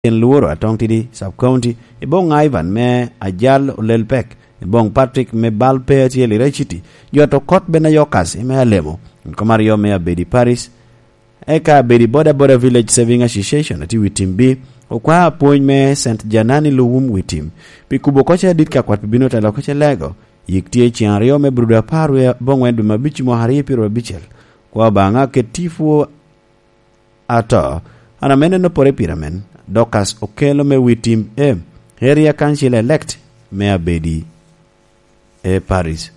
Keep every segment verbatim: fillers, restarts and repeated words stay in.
Ken Lworo Atong Tidi Sub County, i boŋ Ivan me Ajal Olel Pek, i boŋ Patrick me Bal Pe Atyel i Rai City, jot okot Benayokas i me Alemo, kom aryo me Abedi Paris, eka Abedi Boda Boda Village Saving Association ati wi tim bi, okwa apwony me Saint Janani Luwum wi tim, pi kubo koce adit ka kwat pi bino telo koce lego, yik tye ceŋ aryo me Brudo apar wie boŋwen dwe me abic mwaka aryo pyero abicel, kwa Obaŋa ket tipo ato, an ame neno pore pira men, Dorcas Okello me wi tim e, Area Council elect me Abedi e Paris.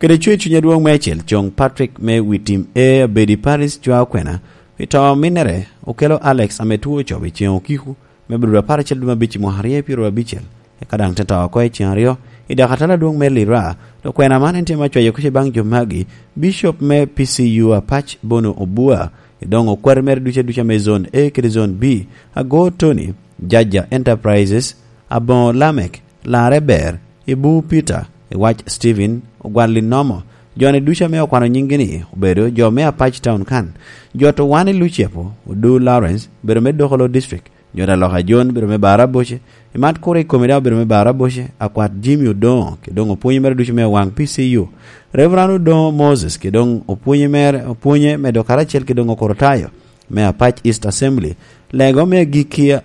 Kede cwe cuny adwoŋ meicel, coŋ Patrick me wi tim e Abedi Paris cwa okwena, pi to minnere, Okello Alex ame two ocobo i ceŋ okiko, me Brudo apar acel dwe me abic i mwaka aryo pyero abicel, eka daŋ te to oko i ceŋ aryo, i dakatala adwoŋ me Lira, to kwena man en tye me cwayo kuc i baŋ jo magi, Bishop me P C U Apac Bono Obua, i doŋ okwati mere duca duca me Zone A kede Zone B, Ago Tony, Jaja Enterprises, Aboŋo Lamek, Larre Ber, Ibu Peter, Iwac Stephen, Ogwal Linomo, joni duca me okwano nyinggi ni obedo jo me Apac Town kan, jo to wan i Lucepo, Odu Lawrence, obedo me Dokolo District, jo da loka John, obedo me Baraboce, imat kuro i komi daŋ obedo me Baraboce, akwat Jimmy Odoŋo, ki doŋ opwonye mere ducu me waŋ P C U, Reverend Odoŋo Moses, ki doŋ opwonye mere, opwonye medo karacel ki doŋ Okorotayo, me Apac East Assembly, lego me agikki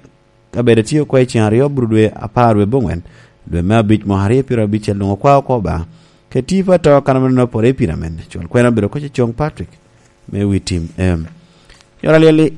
kabedo tye oko i ceŋ aryo bur dwe apar dwe boŋwen, dwe me abic mwaka aryo pyero abicel doŋ okwa oko Obaŋa. Ke tipo ato kan ameno pore i pira men, cwal kwena obedo koc i coŋ Patrick, me wi tim em. Yot alyel-li,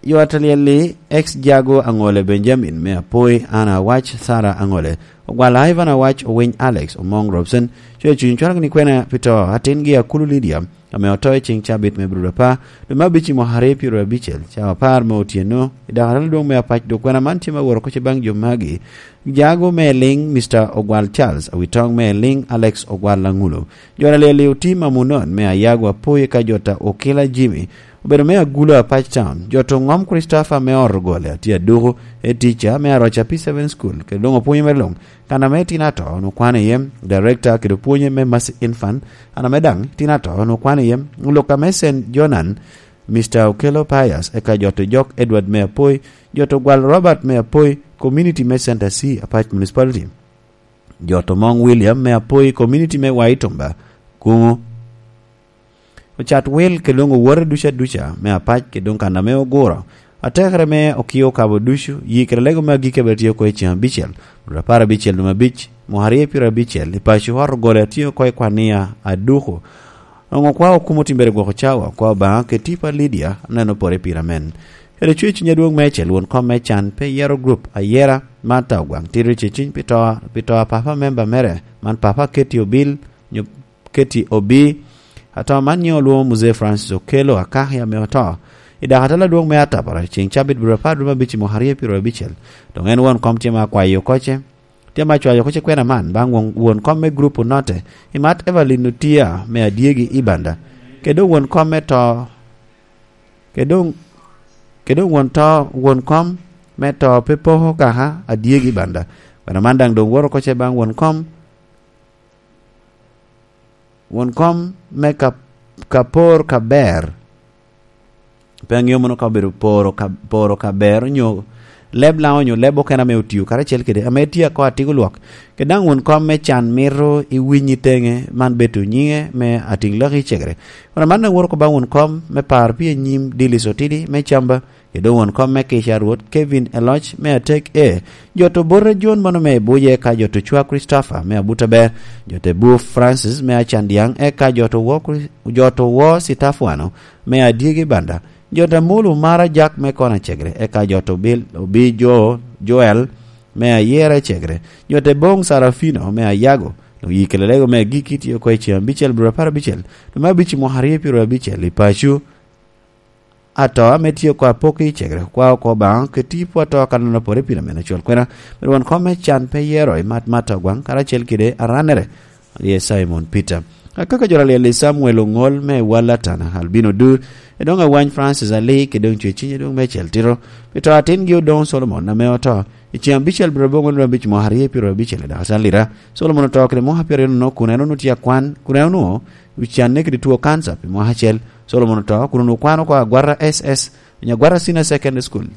yot alyel-li, ex Jago Aŋole Benjamin, me Apoi, Anna Awac, Sarah Aŋole, Ogwal Ivan Awac, Owiny Alex, Omoŋ Robson, cwe cuny cwalo ni kwena pi to, atingi Akulu Lydia, ame oto i ceŋ cabit me Brudo apar, dwe me abic i mwaka aryo pyero abicel, cawa apar me otyeno, i dakatala adwoŋ me Apac, dok kwena man tye me woro koc i baŋ jo magi, Jago me Eliŋ, Mister Ogwal Charles, Awitoŋ me Eliŋ, Alex Ogwal Aŋulo, jo na liel i otim Amunon, me Ayago Apoyi ka jota Okila Jimmy, obedo me Agulo Apac Town, jo to ŋom Christopher me ot ogole, atye aduku, e tica me Aroca P seven School, kede doŋ opwonyo me luŋ, kan ame tin ato, onwoŋo kwano iye, Director kede opwonye me Mercy Infant, an ame daŋ tin ato, onwoŋo kwano iye, Luka me Saint Jonan, Mister Okello Pius, eka jo to Jok Edward me Apoi, jo to Gwal Robert me Apoi, Community me Center C, Apac Municipality, jo to Mong William me Apoi, Community me Waitumba, Kuŋo. Ocat wil ke luŋo wote duca duca me Apac, ke doŋ kan ame oguro. Atekere me okio kabo ducu, yi kede lego me agikki abiro tye oko i ceŋ abicel, dwe apar abicel dwe me abic, mwaka aryo pyero abicel, i paco ot ogole atye oko i kwania aduku. Onwoŋo kwa okumo timbere gwoko cawa, kwa Obaŋa kede tipo a Lydia, aneno pore pira men. Kede cwe cuny adwoŋ meicel, won kom me can pe yero group ayera, Martha Ogwaŋ Tito Ceciny pi to, pi to a papa member mere, man papa Katie Obil, nyo Katie Obi, ato man nyiŋe olwoŋo Muzee Francis Okello Akaki ame oto. I dakatala adwoŋ me Atapara, ceŋ cabit biro apar dwe me abic i mwaka aryo pyero abicel. Doŋ en won kom tye ma akwayo oko ce, tye ma cwayo oko ce kwena man, baŋ won, won kom me grup Onote, i mat Evelyn Otia me Adyegi i Banda. Kede won kom me to, kede, kede won to, won kom me to pe poko kaka Adyegi i Banda. Kwena man daŋ doŋ woro oko ce baŋ won kom, won kom me ka, ka por ka ber. Pe aŋeo mono ka obedo poro ka, poro ka ber onyo leb Laŋo onyo leb okene ame otio karacel kede, ame tye ako atiko lwak. Kede daŋ won kom me can mito iwiny i teŋe, man bedo nyiŋe me atiŋ laki cegere. Won aman awoto ko baŋ won kom me par pi anyim Dilis Otidi me Camba, kede doŋ won kom me kica Rwot Kevin Eloc me Atek E, jo to Bote John mano me Ibuje, eka jo to Cwa Christopher me Abutaber, jo to Buf Francis me Acandiaŋ, eka jo to Wo Chris-, jo to Wo Sitafwano me Adyegi Banda, jo to Amolo Mara Jack me Kona Cegre, eka jo to Bil-, Obi Jo-, Joel me Ayera Cegre, jo to Boŋ Sarafino me Ayago, doŋ yi kede lego me agikki tye oko i ceŋ abicel bur apar abicel, dwe me abic i mwaka aryo pyero abicel i paco. Ato ame tye oko apok i cegere, kwa oko Obaŋa, keti po ato akannono pore pire mene col kwena, myero won kom me can pe yero i mat mat Ogwaŋ, karacel kede arannere, rye Simon Peter. Akaka jo alyel i Samuel Oŋol me Wal Atana, Albino Dur, edoŋ Awany Francis Ali, kede doŋ Cweciny edoŋ Mecel Tito, pi to atingi Odoŋo Solomon ame oto, i ceŋ abicel biro boŋo nino abic mwaka aryo pyero abicel i dakacel lira, Solomon oto kede mwaka pyeraryo nono kun en onwoŋo tye akwan, kun en onwoŋo ocanne kede two kanca pi mwaka acel. Solomon oto, kun onwoŋo kwano oko agwata S S Nyagwara Senior Secondary School.